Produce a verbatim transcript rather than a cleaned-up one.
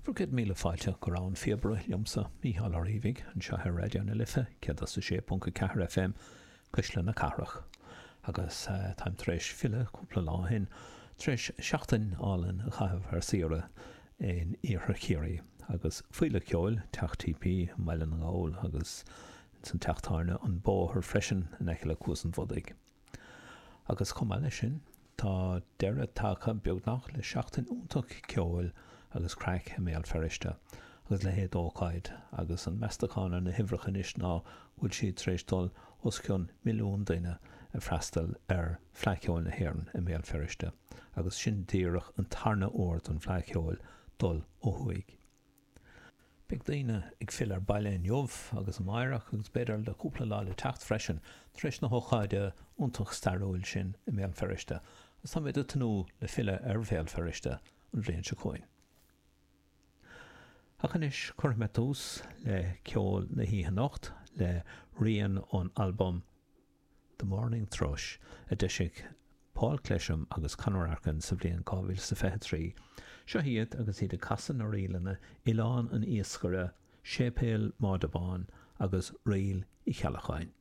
Bhur gcéad míle fáilte go Rogha an Phíobaire liomsa, Mícheál Ó Riabhaigh, anseo ar Raidió na Life céad is a sé ponc a ceathair FM, Cuisle na Cathrach. Agus táim tar éis filleadh cúpla lá ó shin, tar éis seachtain álainn a chaitheamh ar saoire in iarthar Chiarraí. Agus féile ceoil, Teach TP i mBaile na nGall agus ins an teach tábhairne An Bóthar freisin in aice le Cuas an Bhodaigh. Agus chomh maith leis sin, tá deireadh tagtha beagnach le seachtain iontach ceoil agus craic i mBéal Feirste agus leithéid d'ócáid agus an meastachán ar na huimhreacha anois ná go bhfuil siad tar éis dul os cionn milliún duine ag freastal ar Fleadh Cheoil na hÉireann i mBéal Feirste agus sin díreach an tarna uair don Fhleadh Cheoil dul ó thuaidh. Beidh daoine ag filleadh ar baile inniu agus amáireach agus b'fhéidir le cúpla lá le teacht freisin tar éis na hócáide iontach stairiúil sin i mBéal Feirste agus táimid ag tnúth le filleadh ar Bhéal Feirste an bhliain seo chugainn. Ach anois cuirfidh mé tús le ceol na hoíche anocht le rian ón albam The Mourning Thrush a d'eisigh Paul Clesham agus Conor Arkin sa bhliain dhá mhíle is a fiche trí. Seo iad agus iad ag casadh na ríleanna Oileán an Iascaire, Séipéal Mháide Bhán agus Ríl Uí Cheallacháin.